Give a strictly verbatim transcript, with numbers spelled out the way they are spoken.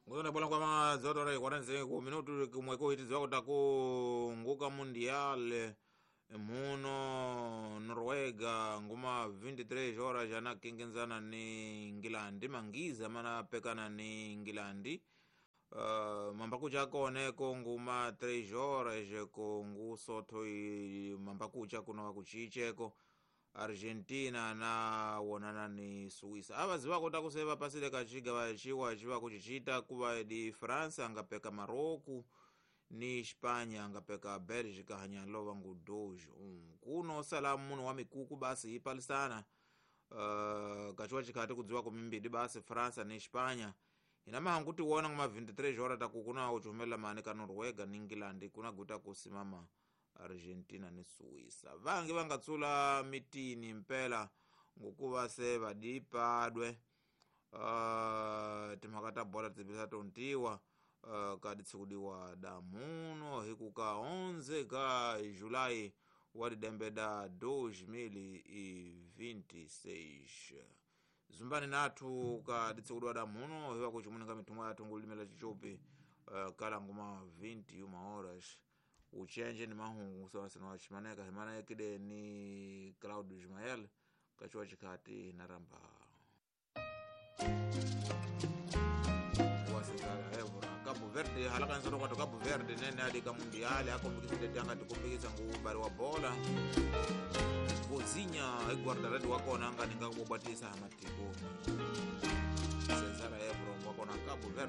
Nguzona bola kwa mazoto rai quarenta e cinco minutos kumweko hitiziwa kutaku nguka mundial muno Noruega nguma vinte e três horas jana kingenzana ni Ingilandi mangiza mana pekana ni Ingilandi. Uh, mambakucha koneko nguma três horas ko ngusotho mambakucha kuno kuchicheko Argentina na wonana ni Suiza. Ava ziva kota kuseva pasile kachiga vachiwa chiva kuchichita kuva di France angapeka Maroko ni Espanya angapeka Bélgica hanyalova ngu dois um. Kuno sala muno wa mikuku basi ipalisana. Uh, kachiwa chikati kudziwa kumimbidi basi France ni Espanya. Inama hanguti wona nguma vinte e três horas takukuna uchumela mane ka Noruega ni England kuna guta kusimama Argentina ni Suiza. Vangi vangatsula mitini mpela ngokuva se vadipadwe. Uh, timhaka ta bola tibisa tontiwa uh, ka ditsikudiwa damuno hikuka onze ka Julai wa didembe da dois mil e vinte e seis. Zumbani nathu ka ditsikudiwa damuno hiwa kuchimuninga mitumwa yathu ngulimela chichopi uh, kala nguma vinte e uma horas. Uchenje ni mahungu sawa wa chimaneka himana yakide ni Claudio Ismael kachiwa chikati naramba wasezala evora Cabo Verde halaka nsoro kwa Cabo Verde nene adika mundiali akombikisile tanga tikumbikisa ngubali wa bola Vozinha guarda-redes wakona anga ninga kubatisa hamatiko Cesar Evora wakona Cabo Verde.